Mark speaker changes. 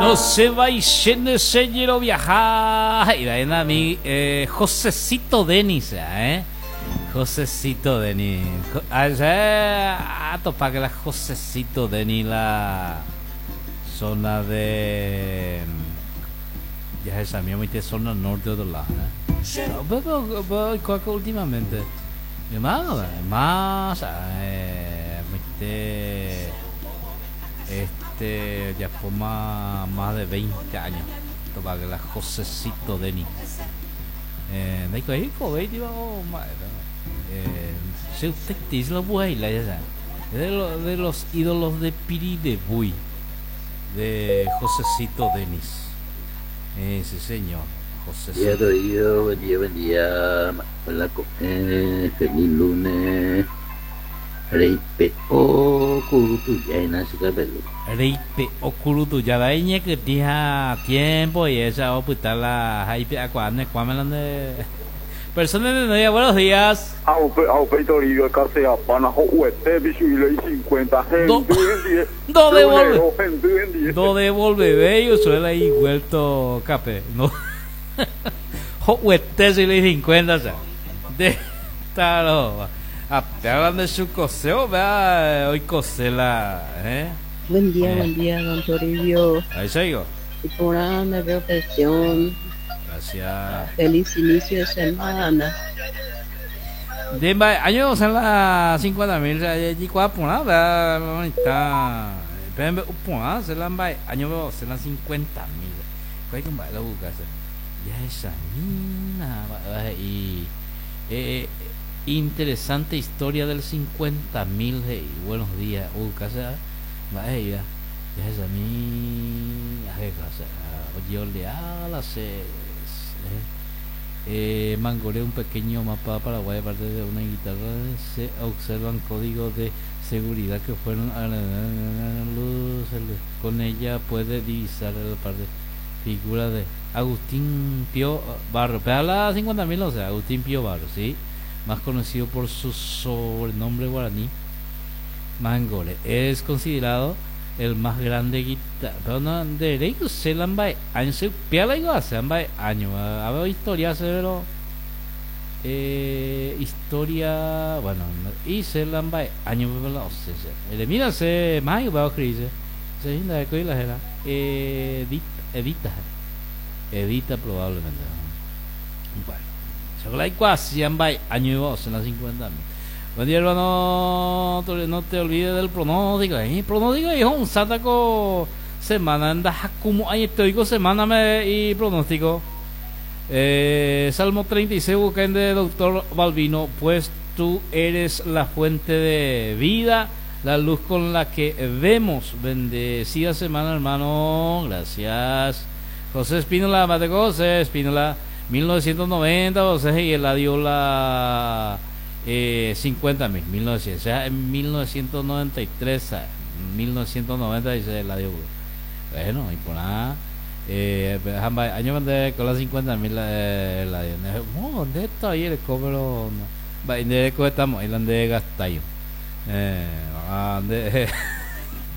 Speaker 1: No se vaichéne che jeroviaha, he'iva'éna mi eh, Josecito Denis, eh? Josecito Denis. Atopa que la Josecito Denis la zona de ya esa mía muy zona norte otro lado, eh? Pero oikuaa últimamente. Más, más, eh, este ya fue más, más de 20 años. Topa que la Josecito Denis. Eh, ndaikuaái oikove itiva o mba'épa. Eh, che usted te dice la buhaila ya sabe. De, lo, de los ídolos de Piribebuy, de Josecito Denis. Eh, sí, señor.
Speaker 2: Día
Speaker 1: Josecito.
Speaker 2: Toribio, buen día, buen día. Hola, ko'ẽ, feliz lunes. Reipe'o kuru tuja hína che kapelu.
Speaker 1: Reipe'o kuru tuja vai ñekytĩ ha tiempo y esa opyta la ha ipe'akuaa ne kuãme la nde persona de novia. Buenos días.
Speaker 3: Ha upe ha upéi Toribio ekaseapána ho'uete pichu'íle icincuenta
Speaker 1: Do
Speaker 3: hendy hendie
Speaker 1: do devolve
Speaker 3: lunero hendy hendie.
Speaker 1: do devolvevéi usuela iguelto kape no ho'uete chugui icincuenta cha nde tarova ha péva la nde chukose upéva oikose la eh
Speaker 4: Buen día,
Speaker 1: eh
Speaker 4: buen día, don Toribio.
Speaker 1: Aicháiko.
Speaker 4: Iporã nde reflexión.
Speaker 1: Gracias.
Speaker 4: Feliz inicio de semana.
Speaker 1: Nde mba'e año osẽ la 50 mil jajekuaa porã upéva lo mitã pe mbe'u porã osẽ la mba'e año pe osẽ la 50 mil. Kuaiko mba'e la oguka che. Jahechamína mba'éva he'i eh, interesante historia del 50 mil he'i. Buenos días oguka che mba'e he'íva. Jahechami aheka che ojeolea la che eh, mangore un pequeño mapa Paraguay aparte de una guitarra se observan códigos de seguridad que fueron a la luz con ella puede divisar la parte figura de Agustín Pío Barro pero la 50.000 o sea Agustín Pío Barro sí más conocido por su sobrenombre guaraní Mangore es considerado el más grande guitarra pero no derecho se la mba'e año se upéva la se mba'e año a ver historia se pero eh, historia bueno y se la mba'e año la o sea el mira se más igual escribirse se hinda de la era edita edita edita probablemente bueno se la igual mba'e año o sea la 50 Buen día, hermano. No te olvides del pronóstico. ¿Eh? Pronóstico hijo, un sátaco semana. Anda, como hay estoico semana me y pronóstico. Eh, Salmo 36, busquen de doctor Balbino. Pues tú eres la fuente de vida, la luz con la que vemos. Bendecida semana, hermano. Gracias. José Espínola, mate José Espínola, 1990, José y Eladio la eh, 50.000, 1900, o sea, en 1993, 1990 dice Eladio. Bueno, y por nada. Eh, año mandé con las 50.000 eh, Eladio. No, ¿dónde está ahí el cobro? Va, estamos, ahí donde gastáis. Eh, ande,